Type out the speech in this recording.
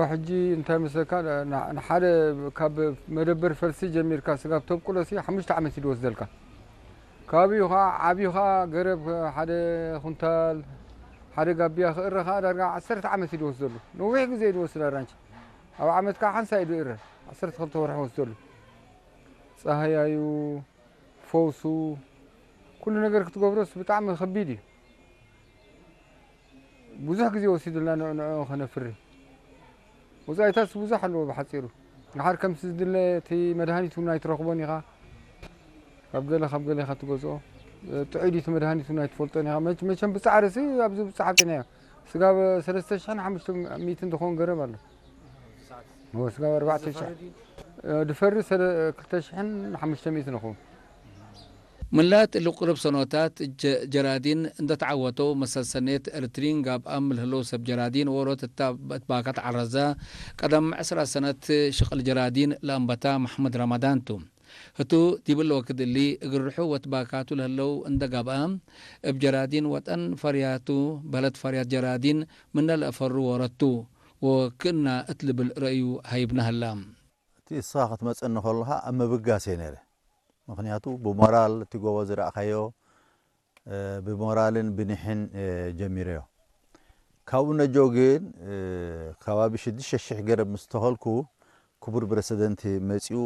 ሕጂ እንታይ መስለካ፣ ንሓደ ካብ መደበር ፈልሲ ጀሚርካ ስጋብ ተብቁሎሲ ሓሙሽተ ዓመት እዩ ዝወስደልካ። ከባቢኡ ከዓ ዓብዩ ከዓ ገረብ ሓደ ኩንታል ሓደ ጋቢያ ክእረ ከዓ ዳርጋ ዓሰርተ ዓመት እዩ ዝወስደሉ። ነዊሕ ግዜ እዩ ዝወስድ ኣራንቺ። ኣብ ዓመት ከዓ ሓንሳ እዩ ዝእረ። ዓሰርተ ክልተ ወርሒ ወስደሉ። ፀሃያዩ፣ ፈውሱ፣ ኩሉ ነገር ክትገብሮስ ብጣዕሚ ከቢድ እዩ። ብዙሕ ግዜ ወሲዱልና ንዕ- ንዕኡ ከነፍሪ። ወፃኢታትስ ብዙሕ ኣለዎ ብሓፂሩ። ድሓር ከምቲ ዝድለ እቲ መድሃኒት እውን ኣይትረኽቦን ኢኻ። ካብ ገለ ካብ ገለ ኢኻ ትገዝኦ። ጥዑይ ድዩ እቲ መድሃኒት እውን ኣይትፈልጦን ኢኻ። መቸ- መቸም ብፃዕርሲ ኣብዚ ብፃሕ ኣብፂናዮ። ስጋብ ሰለስተ ሽሕን ሓሙሽተ ሚእትን ዝኸውን ገረብ ኣሎ። እዎ፣ ስጋብ ኣርባዕተ ሽሕ። ድፈሪ ሰለ- ክልተ ሽሕን ሓሙሽተ ሚእትን ንኸውን። ምላጥ ልቁርብ ሰኖታት ጀ- ጀራዲን እንደተዓወተው መሰል ሰኔት እርትሪን ጋብኣም ልህለው ሰብ ጀራዲን ወሮት እታ እትባካት ዓረዘ ቀደም ዕስራ ሰነት ሽቕል ጀራዲን ለኣንበታ መሕመድ ረመዳንቱ ህቱ ዲብል ወክድሊ እግርሑ ወትባካቱ ለህለው እንደ ጋብኣም እብ ጀራዲን ወጠን ፈርያቱ በለት ፈርያት ጀራዲን ምነ ለእፈሩ ወረቱ ወክእና እትልብል ረእዩ ሃይብና ህላ። እቲ እስኻ ክትመፀኒ ከለኻ ኣብ ምብጋስ እየ ነይረ። ምኽንያቱ ብሞራል እቲ ጎቦ ዝረእኻዮ ብሞራልን ብኒሕን ጀሚረዮ። ካብኡ ነጆ ግን ከባቢ ሽዱሽተ ሽሕ ገረብ ምስ ተኸልኩ ክቡር ፕረሲደንት መፂኡ